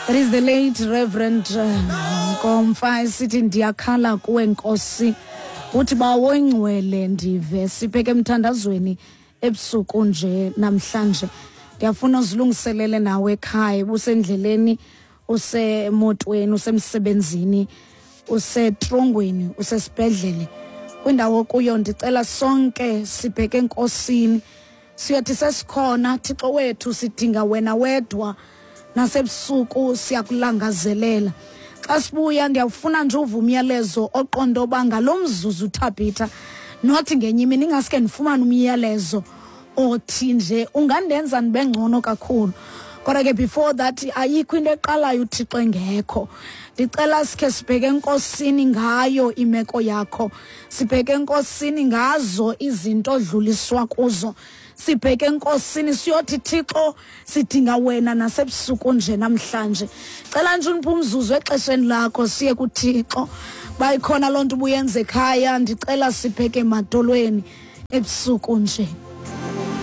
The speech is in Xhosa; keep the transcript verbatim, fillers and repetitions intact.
That is the late Reverend uh, Nkomfa esithi ndiyakhala kuwe Nkosi, uthi bawo ingcwele ndive. Sibheke emthandazweni ebusuku nje namhlanje. Ndiyafuna uzilungiselele nawe ekhaya, usendleleni, usemotweni, usemsebenzini, usetrongweni, usesibhedlele, kwindawo kuyo. Ndicela sonke sibheke enkosini, siyothi sesikhona, Thixo wethu, sidinga wena wedwa, nasebusuku siyakulangazelela. Xa sibuya ndiyawufuna nje uva umyalezo oqonda oba ngalo mzuzu Thabitha, nothi ngenye imini ingaske ndifumane umyalezo othi nje ungandenza ndibe ngcono kakhulu. Kodwa ke before that, ayikho into eqalayo uThixo engekho. Ndicela sikhe sibheke enkosini ngayo imeko yakho, sibheke enkosini ngazo izinto odluliswa kuzo, sibheke enkosini siyothi Thixo sidinga wena nasebusuku nje namhlanje. Cela nje uniphe umzuzu exesheni lakho siye kuThixo. Bayikhona loo nto ubuyenza ekhaya, ndicela sibheke emadolweni ebusuku nje.